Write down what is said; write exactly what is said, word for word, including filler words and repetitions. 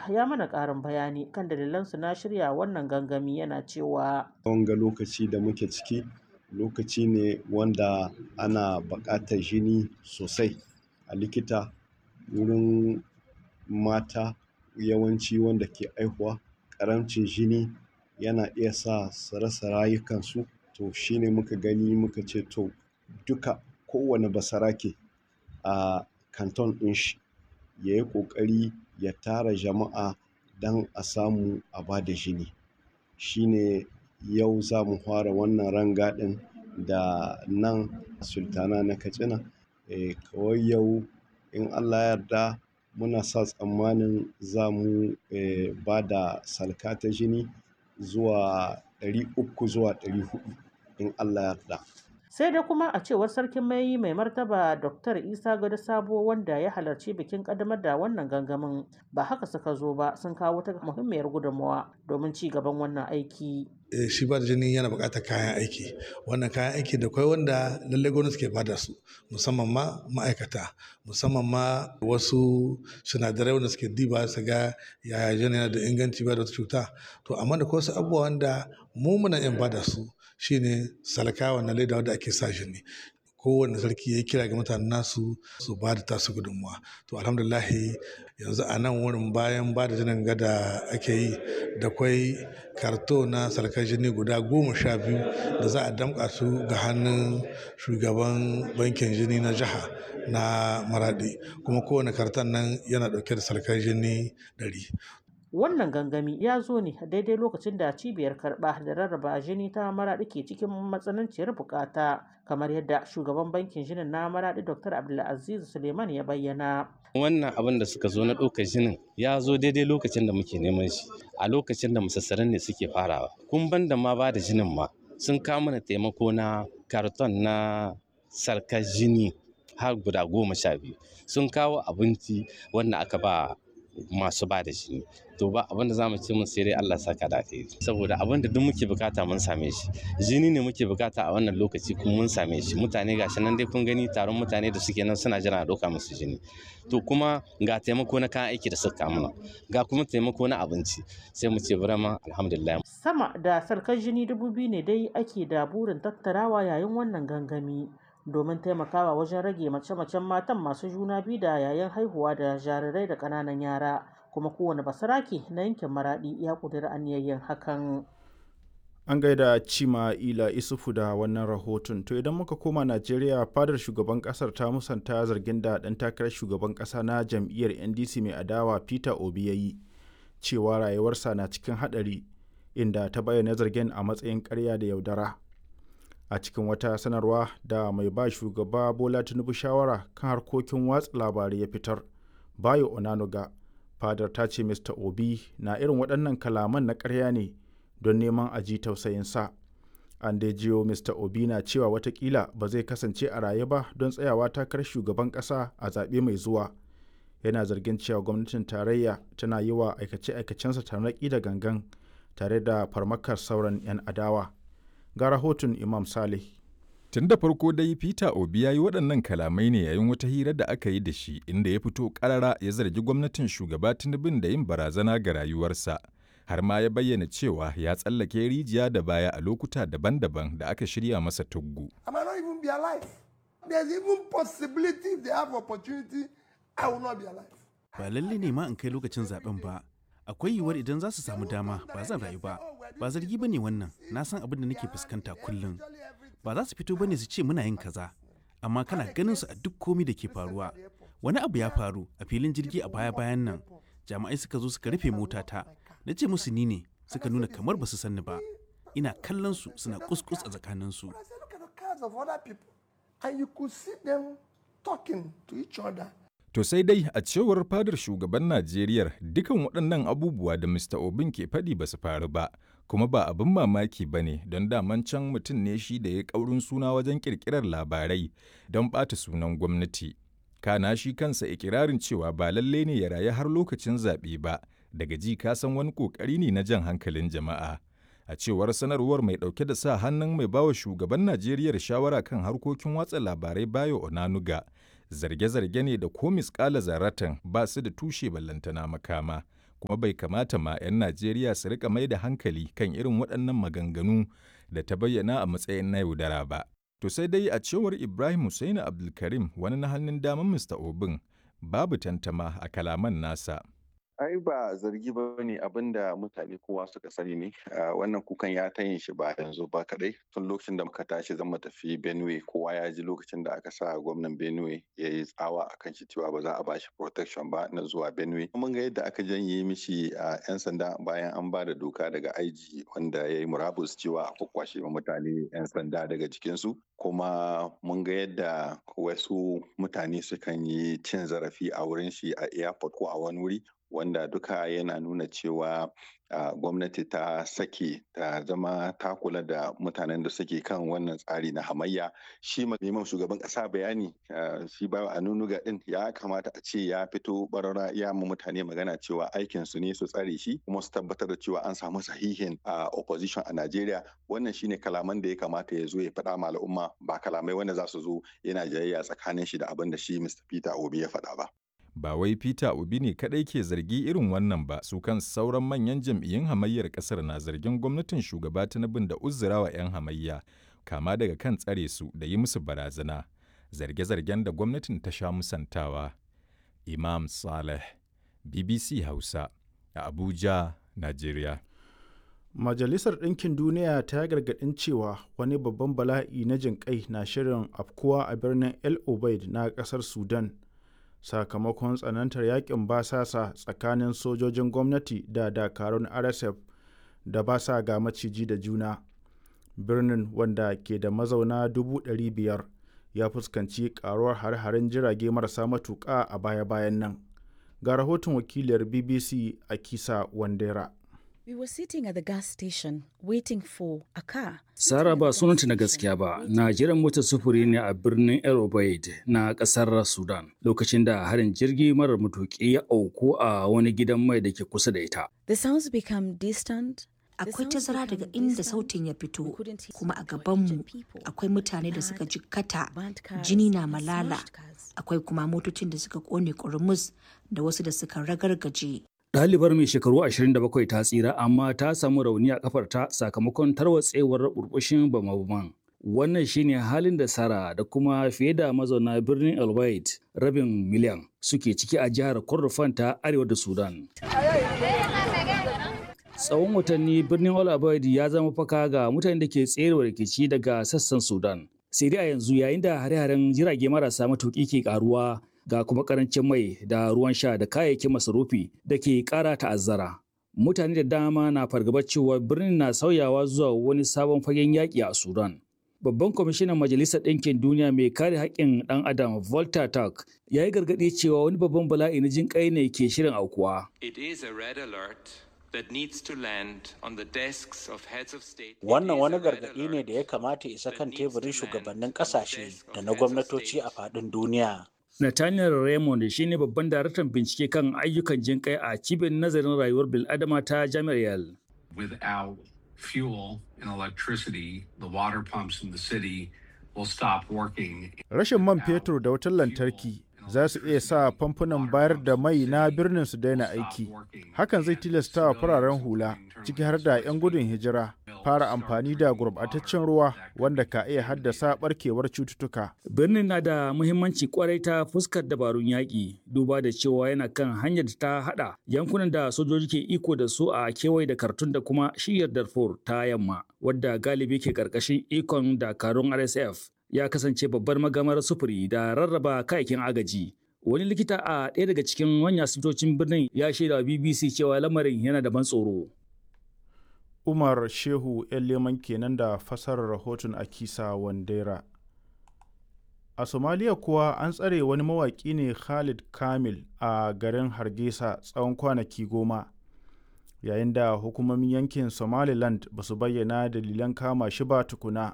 ya mana ƙarin bayani kan dalilansu na shirya wannan gangami, yana cewa. Wanga lokaci da muke ciki lokaci ne wanda ana buƙatar jini sosai a likita wurin mata yawanci wanda ke haihuwa. Ƙaramcin jini yana iya sa su rasa rayukansu. To shine muka gani muka ce to duka kowane basarake a kanton ɗin shi ya yi ƙoƙari ya tara jama'a don a samu a ba da jini. Shine yau za mu fara wannan rangadin da nan Sultana na Katsina. Eh, kawai yau in Allah ya yarda muna sa tsammanin za mu, eh, ba da salka ta jini zuwa ɗari uku zuwa ɗari huɗu in Allah ya yarda. Sai dai kuma a cewar Sarkin Mayi Mai Martaba Doktor Isa Gado Sabo, wanda ya halarci bikin ƙaddamar da wannan gangamin, ba haka suka zo ba, sun kawo wata muhimmiyar gudunmawa domin ci gaban wannan aiki. Shi ba da jini yana buƙatar kayan aiki. Wannan kayan aiki da kwai wanda lallai gwamnati ke bada su, musamman ma ma'aikata, musamman ma wasu sinadarai wanda suke diba su ga yaya jini yana da inganci ba da wata cuta. To amma da kwai wasu abubuwa wanda mu muna iya bada su, shine salka wannan leda wadda ake sa jini. Kowane sarki ya yi kira ga mutanen nasu su ba da tasu gudunmuwa. To alhamdulillahi yanzu a nan wurin bayan ba da jinin gada ake yi da kwai karto na salkar jini guda goma sha biyu da za a damƙa su ga hannun shugaban bankin jini na jiha na Maradi. Kuma kowane karton nan yana ɗauke da salkar jini ɗari. Wannan gangami ya zo ne daidai lokacin da cibiyar karɓa da rarraba jini ta Maraɗi ke cikin matsananciyar bukata, kamar yadda shugaban bankin jinin na Maraɗi Doktor Abdulaziz Suleiman ya bayyana. Wannan abin da suka zo na ɗaukar jinin ya zo daidai lokacin da muke neman shi, a lokacin da musassaran ne suke farawa. Kun ban da ma ba da jinin ma sun kawo mana taimako na karton na sarkar jini har guda goma sha biyu. Sun kawo abinci wanda aka ba masu ba da jini. To ba abin da za mu ce mun sai dai Allah saka da alheri. Saboda abin da duk muke bukata mun same shi. Jini ne muke bukata a wannan lokaci kuma mun same shi. Mutane gashi nan dai kun gani taron mutane da suke nan suna jira a ɗauka musu jini. To kuma ga taimako na kayan aiki da suka kawo mana, ga kuma taimako na abinci. Sai mu ce vraiment alhamdulillah. Sama da sarkar jini dubu biyu ne dai ake da burin tattarawa yayin wannan gangami, domin taimakawa wajen rage mace-macen matan masu juna biyu da yayin haihuwa da jarirai da ƙananan yara. Kuma kowane basarake na yankin Maraɗi ya ƙudiri aniyar yin hakan. An gaida Cima Ila Isufu da wannan rahoton. To idan muka koma Najeriya, fadar shugaban kasar ta musanta zargin da ɗan takarar shugaban ƙasa na jam'iyyar N D C mai adawa Peter Obi ya yi cewa rayuwarsa na cikin haɗari, inda ta bayyana zargin a matsayin ƙarya da yaudara. A cikin wata sanarwa da mai ba shugaba Bola Tinubu shawara kan harkokin watsa labarai ya fitar, Bayo Onanuga, fadar ta ce Mister Obi na irin waɗannan kalaman na ƙarya ne don neman a ji tausayinsa. An dai jiyo Mister Obi na cewa watakila ba zai kasance a raye ba don tsayawa takarar shugaban ƙasa a zaɓe mai zuwa. Yana zargin cewa gwamnatin tarayya tana yi wa aikace-aikacensa tarnaƙi da gangan tare da farmakar sauran 'yan adawa. Ga rahoton Imam Saleh. Tun da farko dai Peter Obi ya yi waɗannan kalamai ne yayin wata hira da aka yi da shi, inda ya fito ƙarara ya zargi gwamnatin shugaba Tinubun da yin barazana ga rayuwarsa. Har ma ya bayyana cewa ya tsallake rijiya da baya a lokuta daban-daban da aka shirya masa tuggu. I might not even be alive. There's even possibility if they have opportunity, I will not be alive. Ba lalle ne ma in kai lokacin zaben ba. Akwai yiwuwar idan za su samu dama ba zan rayu ba. Ba zargi ba ne wannan, na san abin da nake fuskanta kullum. Ba za su fito ba ne su ce muna yin kaza, amma kana ganin su a duk komi da ke faruwa. Wani abu ya faru a filin jirgi a baya-bayan nan. Jami'ai suka zo suka rufe motata. Na ce musu ni ne, suka nuna kamar ba su sanni ba. Ina kallon su suna kuskus a tsakaninsu. But I said, look at the cars of other people. And you could see them talking to each other. To sai dai a cewar fadar shugaban Najeriya, dukan waɗannan abubuwa da Mister Obin ke faɗi ba su faru ba, kuma ba abin mamaki ba ne don daman can mutum ne shi da ya ƙaurin suna wajen ƙirƙirar labarai don ɓata sunan gwamnati. Kana shi kansa ikirarin cewa ba lalle ne ya rayu har lokacin zaɓe ba, daga ji ka san wani ƙoƙari ne na jan hankalin jama'a. A cewar sanarwar mai ɗauke da sa hannun mai bawa shugaban Najeriya shawara kan harkokin watsa labarai Bayo Onanuga, zarge-zarge ne da ko misƙala zaratan ba su da tushe ballantana makama, kuma bai kamata ma 'yan Najeriya su rika mai da hankali kan irin waɗannan maganganu da ta bayyana a matsayin na yaudara ba. To sai dai a cewar Ibrahim Hussaini Abdulkarim wani na hannun daman Mista Obin babu tantama a kalaman nasa. Ai ba zargi ba ne, abin da mutane kowa suka sani ne. Wannan kukan ya ta yin shi ba yanzu ba kadai, tun lokacin da muka tashi zan tafi Benue, kowa ya ji lokacin da aka sa gwamnan Benue ya yi tsawa akan shi cewa ba za a bashi protection ba na zuwa Benue. Mun ga yadda aka janye mishi a yan sanda bayan an ba da doka daga I G wanda ya yi murabus cewa a kwakwashe mutane yan sanda daga jikinsu. Kuma mun ga yadda wasu mutane sukan yi cin zarafi a wurin shi a airport ko a wani wuri, wanda duka yana nuna cewa uh, gwamnati ta sake ta zama ta kula da mutanen da suke kan wannan tsari na hamayya. Shi neman shugaban kasa bayani uh, shi ba a nunuga din ya kamata a ce ya fito barara ya mu mutane magana cewa aikin su ne su tsare shi kuma su tabbatar da cewa an samu sahihin uh, opposition a Najeriya. Wannan shine kalaman da ya kamata ya zo ya faɗa ma al'umma, ba kalamai wanda za su zo yana jayayya tsakanin shi da abin da shi Mister Peter Obi ya faɗa ba. Ba wai Peter Obi ne kaɗai ke zargi irin wannan ba, su kan sauran manyan jam'iyyun hamayyar ƙasar na zargin gwamnatin shugaba Tinubu da uzurawa 'yan hamayya, kama daga kan tsare su da yi musu barazana, zarge-zargen da gwamnatin ta sha musantawa. Imam Saleh, B B C Hausa, a Abuja, Najeriya. Majalisar Ɗinkin Duniya ta gargaɗin cewa wani babban bala'i na jinƙai na shirin afkuwa a birnin El Obeid na ƙasar Sudan, sakamakon tsanantar yakin basasa tsakanin sojojin gwamnati da dakarun R S F da ba sa ga maciji da juna. Birnin, wanda ke da mazauna dubu ɗari biyar, ya fuskanci karuwar hare-haren jirage marasa matuƙa a baya-bayan nan. Ga rahoton wakiliyar B B C a Kisa Wandera. We were sitting at the gas station waiting for a car. Sara, ba sunanta na gaskiya ba, na jiran motar sufuri ne a birnin El Obeid na kasar Sudan lokacin da harin jirgi marar matuƙi ya auku a wani gidan mai da ke kusa da ita. The sounds become distant. Akwai tazara daga inda sautin ya fito, kuma a gabanmu akwai mutane da suka jikkata, jini na malala, akwai kuma motocin da suka kone kurmus da wasu da suka ragargaje. Ɗalibar mai shekaru ashirin da bakwai ta tsira, amma ta samu rauni a kafarta sakamakon tarwatsewar burbushin bama-baman. Wannan shine halin da Sara da kuma fiye da mazauna birnin El Obeid rabin miliyan suke ciki a jihar Kordofan ta arewa da Sudan. Tsawon watanni birnin El Obeid ya zama faka ga mutanen da ke tserewa rikici daga sassan Sudan. Sai dai a yanzu, yayin da hare-haren jirage marasa matuƙi ke karuwa, ga kuma karancin mai da ruwan sha da kayayyakin masarufi da ke ƙara ta'azzara. Mutane da dama na fargabar cewa birnin na sauyawa zuwa wani sabon fagen yaƙi a Sudan. Babban kwamishinan Majalisar Ɗinkin Duniya mai kare haƙƙin ɗan Adam, Volker Turk, ya yi gargaɗi cewa wani babban bala'i na jin ƙai ne ke shirin aukuwa. It is a red alert that needs to land on the desks of heads of state. Wannan wani gargaɗi ne da ya kamata isa kan teburin shugabannin ƙasashe da na gwamnatoci a faɗin duniya. Nathaniel Raymond shine babban daraktan bincike kan ayyukan jinƙai a cibiyar nazarin rayuwar bil'adama ta Jami'ar Yale. Without fuel and electricity, the water pumps in the city will stop working. Rashin man fetur da wutar lantarki za su iya sa famfunan bayar da mai na birnin su daina aiki. Hakan zai tilasta wa fararen hula, ciki har da 'yan gudun hijira, fara amfani da gurbataccen ruwa wanda ka iya haddasa barkewar cututtuka. Birnin na da muhimmanci kwarai ta fuskar dabarun yaƙi, duba da cewa yana kan hanyar da ta haɗa yankunan da sojoji ke iko da su a kewaye da Khartoum da kuma shiyar Darfur ta yamma, wadda galibi ke ƙarƙashin ikon dakarun R S F. Ya kasance babbar magamar sufuri da rarraba kayayyakin agaji. Wani likita a ɗaya daga cikin manyan asibitocin birnin ya shaida wa B B C cewa lamarin yana da ban tsoro. Umar Shehu 'yan Leman kenan da fasarar rahoton Akisa Wandera. A Somaliya kuwa, an tsare wani mawaƙi ne, Khalid Kamil, a garin Hargeisa tsawon kwanaki goma, yayin da hukumomin yankin Somaliland ba su bayyana dalilan kama shi ba tukuna.